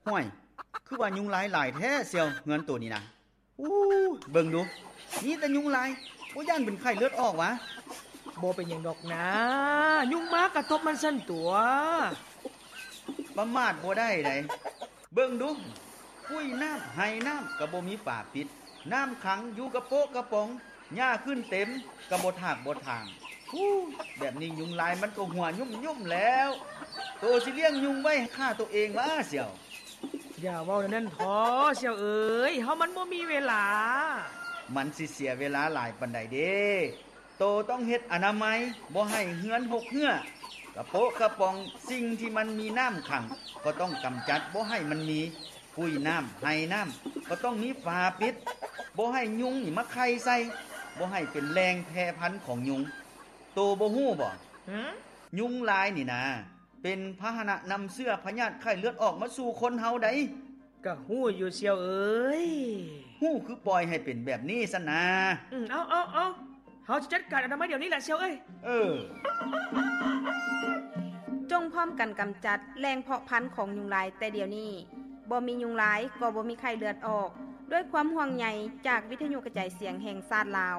ຫ້ວຍ ຄືວ່າຍຸງລາຍຫຼາຍແທ້ສ່ຽວ ເຮືອນໂຕນີ້ນະ. ອູ້ ເບິ່ງດູ ມີແຕ່ຍຸງລາຍ ບໍ່ຢ້ານເປັນໄຂ້ເລືອດອອກຫວາ? ບໍ່ເປັນຫຍັງດອກນາ ຍຸງມາກະຕົບມັນຊັ້ນຕົວະ. ປະໝາດບໍ່ໄດ້ໃດ໋ ເບິ່ງດູ ປຸ້ຍນ້ຳໄຮ່ນ້ຳກະບໍ່ມີຝາປິດ ນ້ຳຂັງຢູ່ກະໂປະກະປ໋ອງ ຫຍ້າຂຶ້ນເຕັມກະບໍ່ຖາກບໍ່ຖາງ. ອູ້ ແບບນີ້ຍຸງລາຍມັນກະຫົວຫຍຸ້ມໆແລ້ວ. ໂຕຊິລ້ຽງຍຸງໄວ້ຂ້າໂຕເອງຫວາສ່ຽວ? ຢ່າເວົ້າແນວນັ້ນເຖາະສ່ຽວເອີຍ ເຮົາມັນບໍ່ມີເວລາ. ມັນຊິເສຍເວລາຫຼາຍປານໃດເດ? ໂຕຕ້ອງເຮັດອະນາໄມ ບໍ່ໃຫ້ເຮືອນຮົກເຮື້ອ ກະໂປະກະປ໋ອງ ສິ່ງທີ່ມັນມີນ້ຳຂັງ ກໍຕ້ອງກຳຈັດບໍ່ໃຫ້ມັນມີ. ປຸ້ຍນ້ຳໄຮ່ນ້ຳ ກໍຕ້ອງມີຝາປິດ ບໍ່ໃຫ້ຍຸງນີ້ມາໄຂ່ໃສ່ ບໍ່ໃຫ້ເປັນແຫຼ່ງແຜ່ພັນຂອງຍຸງ. ໂຕບໍ່ຮູ້ບໍ? ຫື? ຍຸງລາຍນີ້ນາ ເປັນພາຫະນະນຳເຊື້ອພະຍາດໄຂ້ເລືອດອອກມາສູ່ຄົນເຮົາໃດ໋. ກະຮູ້ຢູ່ສ່ຽວເອີຍ. ຮູ້ຄືປ່ອຍໃຫ້ເປັນແບບນີ້ຊັ້ນນາ. ອືມ ເອົາ ເອົາ ເອົາ ເຮົາຈະຈັດການອະນາໄມດຽວນີ້ແຫຼະສ່ຽວເອີຍ. ເອີ. ຈົ່ງພ້ອມກັນກຳຈັດແຫຼ່ງເພາະພັນຂອງຍຸງລາຍແຕ່ດຽວນີ້. ບໍ່ມີຍຸງລາຍກໍບໍ່ມີໄຂ້ເລືອດອອກ. ດ້ວຍຄວາມຫ່ວງໃຍຈາກວິທະຍຸກະຈາຍສຽງແຫ່ງຊາດລາວ.